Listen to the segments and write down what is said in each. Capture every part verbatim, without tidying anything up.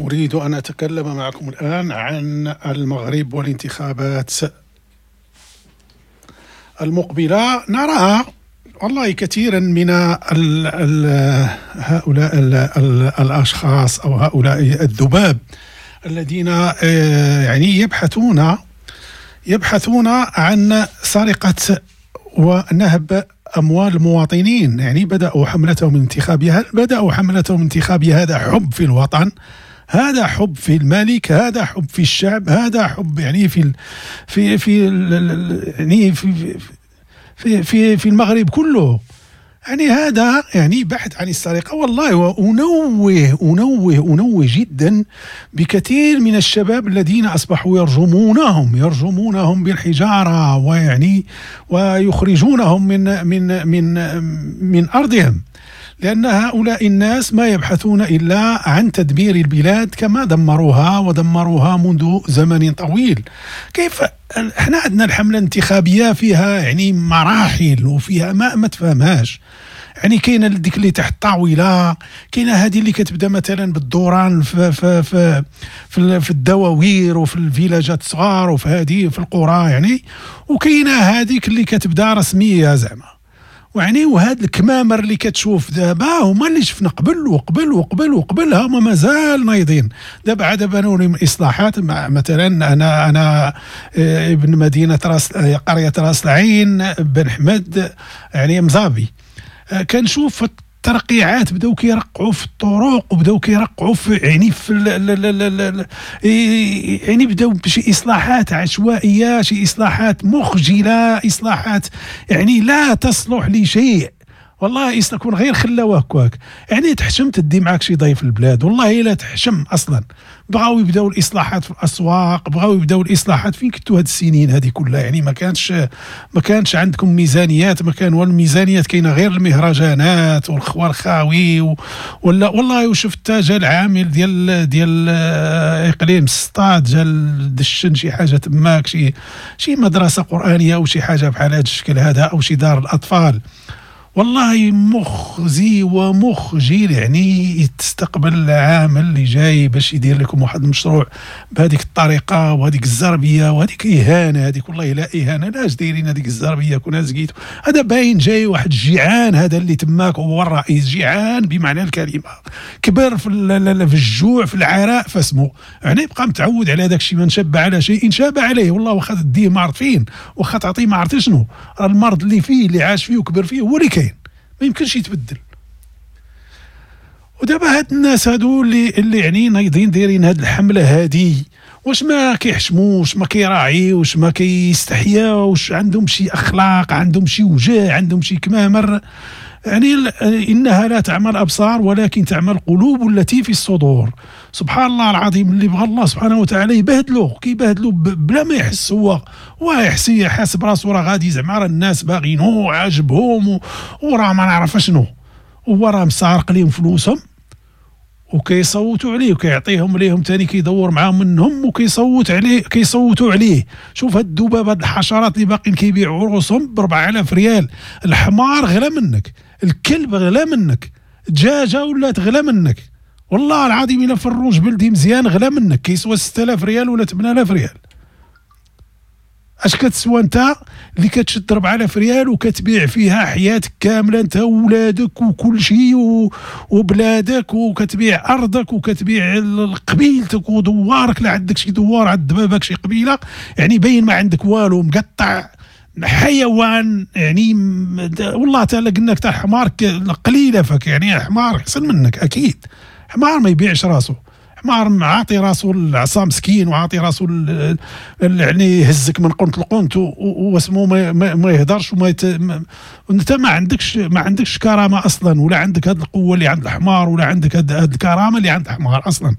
أريد أن أتكلم معكم الآن عن المغرب والانتخابات المقبلة. نراها والله كثيرا من ال ال هؤلاء ال ال الأشخاص أو هؤلاء الذباب الذين يعني يبحثون يبحثون عن سرقة ونهب أموال المواطنين. يعني بدأوا حملتهم الانتخابية، هل بدأوا حملتهم الانتخابية هذا حب في الوطن؟ هذا حب في الملك، هذا حب في الشعب، هذا حب يعني في في في يعني في في في في المغرب كله. يعني هذا يعني بحث عن السرقة. والله وأنوه أنوه أنوه جدا بكثير من الشباب الذين أصبحوا يرجمونهم يرجمونهم بالحجارة ويعني ويخرجونهم من من من من أرضهم، لأن هؤلاء الناس ما يبحثون إلا عن تدمير البلاد كما دمروها ودمروها منذ زمن طويل. كيف احنا عندنا الحملة الانتخابية فيها يعني مراحل وفيها ما ما تفهمهاش. يعني كاينه ديك اللي تحت الطاولة، كاينه هذه اللي كتبدا مثلا بالدوران في في في في, في الدواوير وفي الفيلاجات الصغار وفي هذه في القرى يعني، وكاينه هذيك اللي كتبدا رسمية زعما. ويعني وهاد الكمامر اللي كتشوف دابا هما اللي شفنا قبل وقبل وقبل وقبل، هما مازال نايضين دابا. عاد بانوا لهم اصلاحات. مثلا انا انا ابن مدينة راس، قرية راس العين بن حمد يعني مزابي، كنشوف الترقيعات بداو كيرقعوا في الطرق وبداو كيرقعوا في يعني في ال ال ال يعني بداو بشي اصلاحات عشوائية، شي اصلاحات مخجله، اصلاحات يعني لا تصلح لشيء. والله يكون غير خلاوه هكاك. يعني تحشم تدي معاك شي ضيف البلاد، والله لا تحشم اصلا. بغاو يبداو الاصلاحات في الاسواق، بغاو يبداو الاصلاحات. فين كنتو هاد السنين هذه كلها؟ يعني ما كانش ما كانش عندكم ميزانيات، ما كان والو الميزانيات، كاينه غير المهرجانات والخوار خاوي و... ولا والله. وشفت جا العامل ديال ديال اقليم سطات، جا دشن شي حاجة تماك، شي شي مدرسه قرانية او شي حاجة بحال هذا الشكل هذا، او شي دار الاطفال. والله مخزي ومخجل. يعني تستقبل العامل اللي جاي باش يدير لكم واحد المشروع بهذيك الطريقة وهذيك الزربيه وهذيك اهانه، هذيك والله لا اهانه. لاش دايرين هذيك الزربيه؟ كنا زكيتو. هذا باين جاي واحد الجيعان، هذا اللي تماك هو الرئيس، جيعان بمعنى الكلمة، كبر في في الجوع في العراء فاسمه، يعني بقى متعود على هذاك الشيء. من شب على شيء شاب عليه. والله واخا تديه ما عرف فين، واخا تعطيه ما عرفت شنو، المرض اللي فيه اللي عاش فيه وكبر فيه هو اللي كاين، ما يمكنش يتبدل. ودابا هاد الناس هادو اللي اللي يعني نايضين دايرين هاد الحملة هادي، واش ما كيحشموش، ما كيراعيوش، ما كيستحياوش، عندهم شي اخلاق، عندهم شي وجه، عندهم شي كمامر؟ يعني انها لا تعمى الابصار ولكن تعمى القلوب التي في الصدور. سبحان الله العظيم، اللي بغى الله سبحانه وتعالى يبهدلو كيبهدلو بلا ما يحس هو، هو يحس حاسب راسو راه غادي زعما راه الناس باغينو عاجبهم وراه ما نعرف شنو، هو راه مسارق ليهم فلوسهم وكيصوتوا عليه وكيعطيهم ليهم ثاني، كيدور معاهم منهم وكيصوت عليه، كيصوتوا عليه. شوف هاد الذباب، هاد الحشرات اللي باقيين كيبيعوا رؤوسهم ب أربعة آلاف ريال. الحمار غلا منك، الكلب غلا منك، الدجاجة ولات غلا منك. والله العظيم الا فروج بلدي مزيان غلا منك، كيسوى ستة آلاف ريال ولا ثمانية آلاف ريال. اش كتسوى انت اللي كتشد أربعة آلاف ريال وكتبيع فيها حياتك كاملة انت وولادك وكل شيء وبلادك، وكتبيع ارضك وكتبيع قبيلتك ودوارك. لا عندك شي دوار، عند باباك شي قبيلة، يعني باين ما عندك والو، مقطع حيوان. يعني والله تعالى قلنا لك تاع حمار قليله فك، يعني حمار احسن منك اكيد. حمار ما يبيعش راسو، حمار عاطي راسو العصا مسكين، وعاطي راسو يعني يهزك من قنت لقنت واسمو ما, ما يهدرش وما يت... ما... انت ما عندكش ما عندكش كرامة اصلا، ولا عندك هذه القوة اللي عند الحمار، ولا عندك هذه الكرامة اللي عند الحمار اصلا.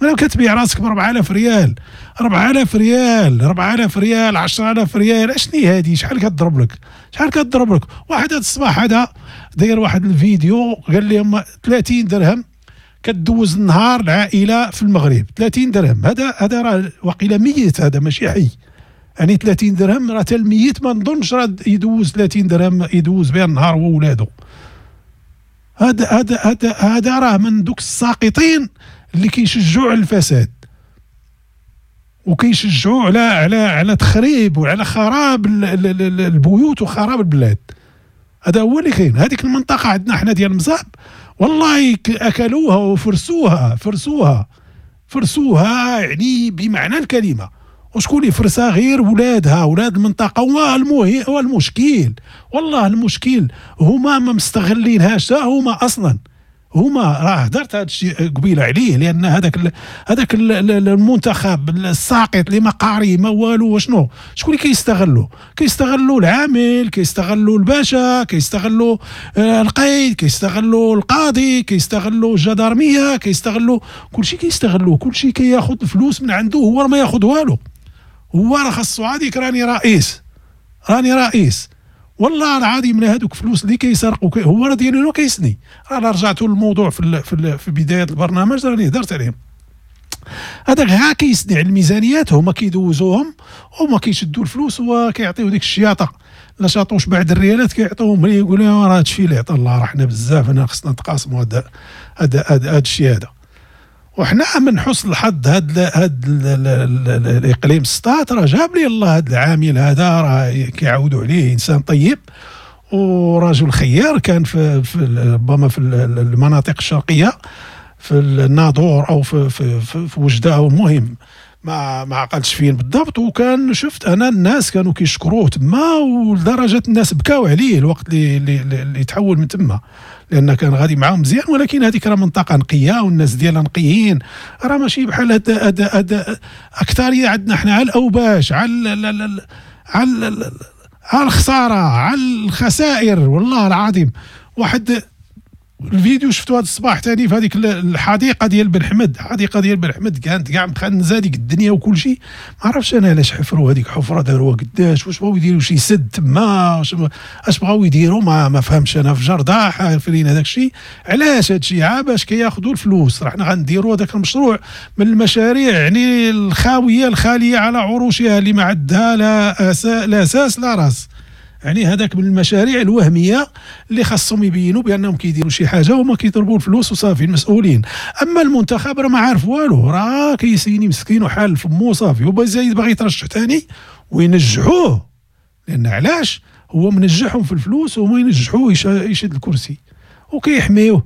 انا كتبيع راسك ب أربعة آلاف ريال، أربعة آلاف ريال، أربعة آلاف ريال، عشرة آلاف ريال، اشني هادي؟ شحال كتضرب لك؟ شحال كتضرب لك؟ واحد هذا الصباح هذا داير واحد الفيديو قال لهم ثلاثين درهم كدوز النهار العائلة في المغرب، ثلاثين درهم. هذا هذا راه وقيله ميت، هذا ماشي حي. يعني ثلاثين درهم راه حتى الميت ما نظنش راه يدوز ثلاثين درهم يدوز بها النهار هو وولادو. هذا هذا هذا هذا راه من دوك الساقطين اللي كيشجعوا على الفساد وكيشجعوا على على على تخريب وعلى خراب البيوت وخراب البلاد. هذا هو اللي كاين. هذيك المنطقة عندنا حنا ديال مزاب والله اكلوها وفرسوها فرسوها فرسوها يعني بمعنى الكلمة. وشكون اللي فرسها؟ غير ولادها، ولاد المنطقة. والمهم والمشكل والله المشكل هما ما مستغلينهاش هما اصلا. هما راه هدرت هذا الشيء قبيلة عليه، لان هذاك هذاك المنتخب الساقط اللي ما قاري ما والو، وشنو شكون اللي كيستغلوا؟ كيستغلوا العامل، كيستغلوا الباشا، كيستغلوا القيد، كيستغلوا القاضي، كيستغلوا الجدارميه، كيستغلوا كلشي، كيستغلوا كلشي، كياخذ الفلوس من عنده هو ما ياخذ والو. هو راه خاصو هذيك راني رئيس، راني رئيس والله العظيم. لا هذوك فلوس اللي كيسرقوا هو راه ديالو كيسني. راه رجعتوا للموضوع في في, في بداية البرنامج راني هضرت عليهم. هذاك غا كيسني على الميزانيات، هما كيدوزوهم وهما كيشدوا الفلوس وكيعطيو ديك الشياطه لا شاطوش بعد الريالات كيعطوهم ليه، يقول لهم راه هادشي اللي عطا الله، راه حنا بزاف، انا خصنا نتقاسموا هذا هذا هذا الشيء هذا. وحنا من حسن الحظ هاد هاد الاقليم سطات راه جاب لي الله هاد العامل هذا، راه كيعاودوا عليه انسان طيب ورجل خيار، كان في, في ربما في المناطق الشرقية في الناظور او في في, في, في وجده، او المهم ما ما عقلتش فين بالضبط. وكان شفت انا الناس كانوا كيشكروه تما، ولدرجه الناس بكاو عليه الوقت اللي اللي, اللي تحول من تما، لان كان غادي معاهم مزيان. ولكن هذيك راه منطقة نقية والناس ديالها نقيين، راه ماشي بحال هاد هاد هاد اكثرية عندنا حنا على الاوباش، على على على الخسارة، على الخسائر والله العظيم. واحد الفيديو شفتو هذا الصباح ثاني في هذيك الحديقة ديال بن حمد، الحديقة ديال بن حمد كانت كاع مخنزه ديك الدنيا وكل شيء. ما عرفتش انا علاش حفروا هذيك حفره، داروها قداش، واش بغاو يديروا شي سد تما، اش بغاو يديروا ما ما فهمتش انا. في جرده حافرين هذاك الشيء، علاش هذا الشيء؟ عا باش كياخذوا الفلوس. راه حنا غنديروا هذاك المشروع من المشاريع يعني الخاويه الخالية على عروشها اللي ما عندها لا أسا لا اساس لا راس. يعني هذاك من المشاريع الوهمية اللي خاصهم يبينوا بانهم كيديروا شي حاجة وما كيضربوا الفلوس وصافي المسؤولين. اما المنتخب راه ما عارف والو، راه كيسيني مسكين وحال فمو صافي، وبزايد باغي يترشح ثاني وينجحوه، لان علاش؟ هو منجحهم في الفلوس وما ينجحوه يشد الكرسي وكيحميوه.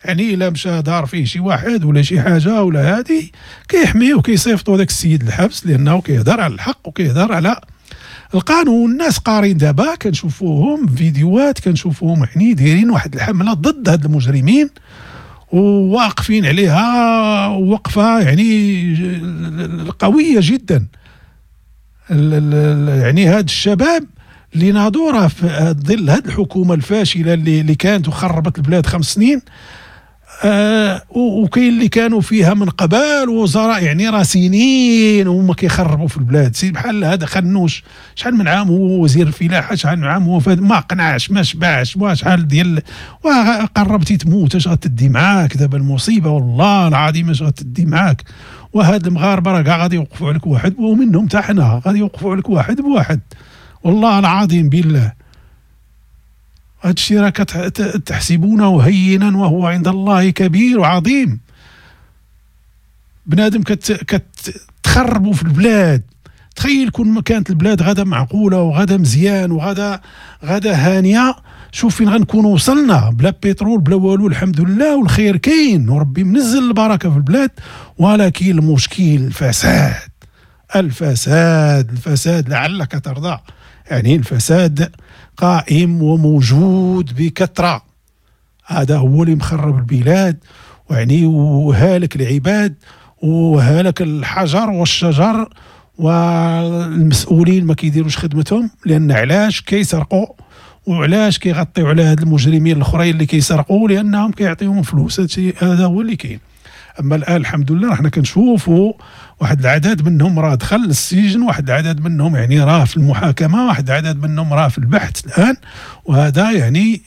يعني الا مشى دار فيه شي واحد ولا شي حاجة ولا هادي كيحميوه، كيصيفطوا هذاك السيد الحبس، لانه كيهضر على الحق وكيهضر على القانون. الناس قارين دابا، كنشوفوهم فيديوهات، كنشوفوهم يعني دايرين واحد الحملة ضد هاد المجرمين وواقفين عليها وقفه يعني قوية جدا. يعني هاد الشباب اللي ناضوا راه في ظل هاد الحكومة الفاشلة اللي اللي كانت وخربت البلاد خمس سنين، آه وكاين اللي كانوا فيها من قبل وزراء يعني راه سنين وهما كيخربوا في البلاد. سي بحال هذا خنوش شحال من عام هو وزير الفلاحة، شحال من عام هو ما قنعش ما شبعش، وشحال ديال وقربتي تموت اش غتدي معاك دابا المصيبة والله العظيم اش غتدي معاك. وهاد المغاربة راه كاع غادي يوقفوا عليك واحد، ومنهم حتى حنا غادي يوقفوا عليك واحد بواحد والله العظيم بالله. هذا الشيء راه تحسبونه هينا وهو عند الله كبير وعظيم. بنادم كتخربوا في البلاد. تخيل كون ما كانت البلاد غدا معقولة وغدا مزيان وغدا غدا هانيه، شوف فين غنكونوا وصلنا، بلا بترول بلا والو الحمد لله، والخير كاين وربي منزل البركة في البلاد. ولكن المشكل الفساد، الفساد، الفساد لعلك ترضى. يعني الفساد قائم وموجود بكثرة، هذا هو اللي مخرب البلاد ويعني وهالك العباد وهالك الحجر والشجر، والمسؤولين ما كيديروش خدمتهم. لأن علاش كيسرقوا وعلاش كيغطيو على هاد المجرمين الاخرين اللي كيسرقوا؟ لأنهم كيعطيهم فلوس. هذا هو اللي كاين. اما الان الحمد لله حنا كنشوفوا واحد العدد منهم راه دخل للسجن، واحد العدد منهم يعني راه في المحاكمة، واحد العدد منهم راه في البحث الان. وهذا يعني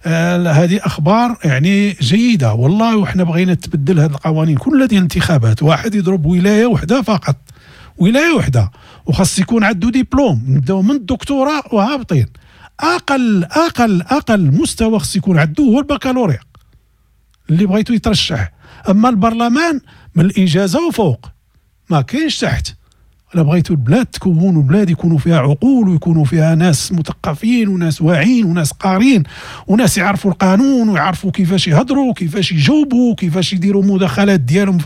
آه هذه اخبار يعني جيدة والله. وحنا بغينا تبدل هذه القوانين كلها ديال الانتخابات، واحد يضرب ولاية وحده فقط، ولاية وحده، وخاص يكون عنده دبلوم، نبداو من الدكتوراه وهابطين. اقل اقل اقل مستوى خاص يكون عنده هو البكالوريا اللي بغيتو يترشح. اما البرلمان من الاجازة وفوق، ما كاينش تحت. الا بغيتوا البلاد تكون وبلاد يكونوا فيها عقول ويكونوا فيها ناس مثقفين وناس واعيين وناس قارين وناس يعرفوا القانون ويعرفوا كيفاش يهضروا وكيفاش يجاوبوا وكيفاش يديروا مداخلات ديالهم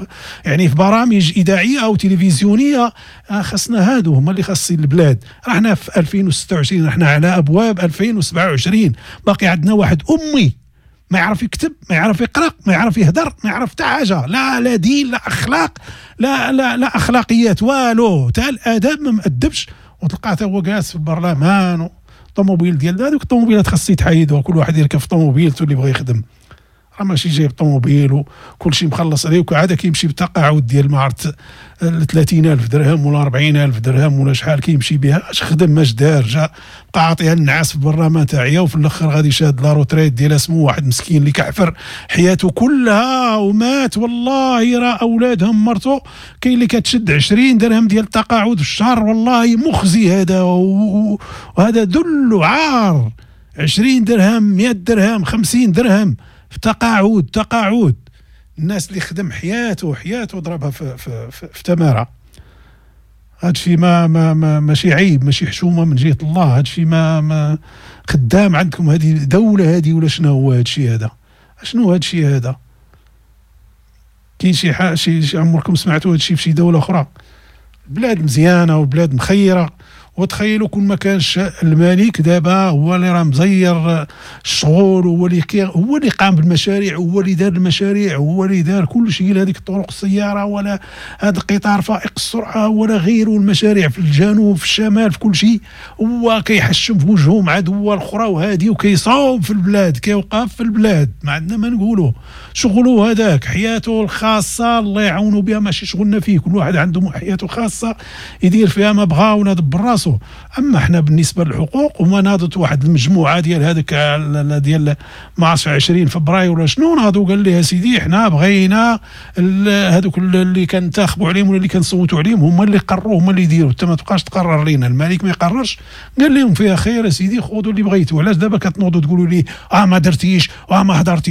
يعني في برامج اذاعية او تلفزيونية، خاصنا هادو هما اللي خاصين البلاد. رحنا في ألفين وستة وعشرين، رحنا على ابواب ألفين وسبعة وعشرين، باقي عندنا واحد امي ما يعرف يكتب، ما يعرف يقرا، ما يعرف يهدر، ما يعرف حتى حاجة، لا لا دين، لا اخلاق، لا لا لا اخلاقيات، والو، حتى الاداب ما مأدبش. وتلقاه حتى هو جالس في البرلمان الطوموبيل ديال هذوك الطوموبيلات خاص يتحيدوا، كل واحد يركب في طوموبيلته اللي بغى يخدم، راه ماشي جايب طوموبيل وكل شيء مخلص عليه، وعاد كيمشي بتقاعد ديال ما عرفت ثلاثين ألف درهم ولا أربعين ألف درهم ولا شحال كيمشي بها. اش خدم اش دار، جا بقى عاطيها النعاس في البرلمان تاعيا، وفي الاخر غادي شاد la retraite ديال اسمو واحد مسكين اللي كحفر حياته كلها ومات. والله راه اولادهم مرتو كاين اللي كتشد عشرين درهم ديال التقاعد في الشهر، والله مخزي هذا، وهذا ذل وعار. عشرين درهم، مئة درهم، خمسين درهم في تقاعد. تقاعد الناس اللي خدم حياته حياته ضربها في, في, في, في تماره. هادشي ما ما ما ماشي عيب، ماشي حشومه من جهة الله. هادشي ما, ما خدام عندكم هذه دولة هذه ولا شنو هو هادشي هذا؟ شنو هادشي هذا؟ كاين شي حاجة شي عمركم سمعتوا هادشي في شي دولة اخرى؟ بلاد مزيانه وبلاد مخيرة. وتخيلوا كون ما كانش الملك دابا هو اللي راه مزير الشغل، هو اللي هو اللي قام بالمشاريع، هو اللي دار المشاريع، هو اللي دار كل شيء، لا هذيك الطرق السيارة ولا هذا القطار فائق السرعة ولا غيره، المشاريع في الجنوب في الشمال في كل شيء، هو كيحشم في وجهه مع دول اخرى وهادي، وكيصاوب في البلاد، كيوقف في البلاد، ما عندنا ما نقولوا. شغلو هذاك حياته الخاصة الله يعاونوا بها، ماشي شغلنا فيه، كل واحد عنده حياته خاصة يدير فيها ما بغا ونضبر راسو. اما احنا بالنسبة للحقوق، وما ناضت واحد المجموعة ديال هذاك ديال ما عرفتش عشرين فبراير ولا شنو، ناضوا قال لي يا سيدي احنا بغينا هذوك اللي كنتاخبوا عليهم ولا اللي كنصوتوا عليهم هما اللي قرروا، هما اللي يديروا، انت ما تبقاش تقرر لينا، الملك ما يقررش. قال لهم فيها خير يا سيدي، خذوا اللي بغيتوا. علاش دابا كتنوضوا تقولوا لي اه ما درتيش واه ما هضرتيش؟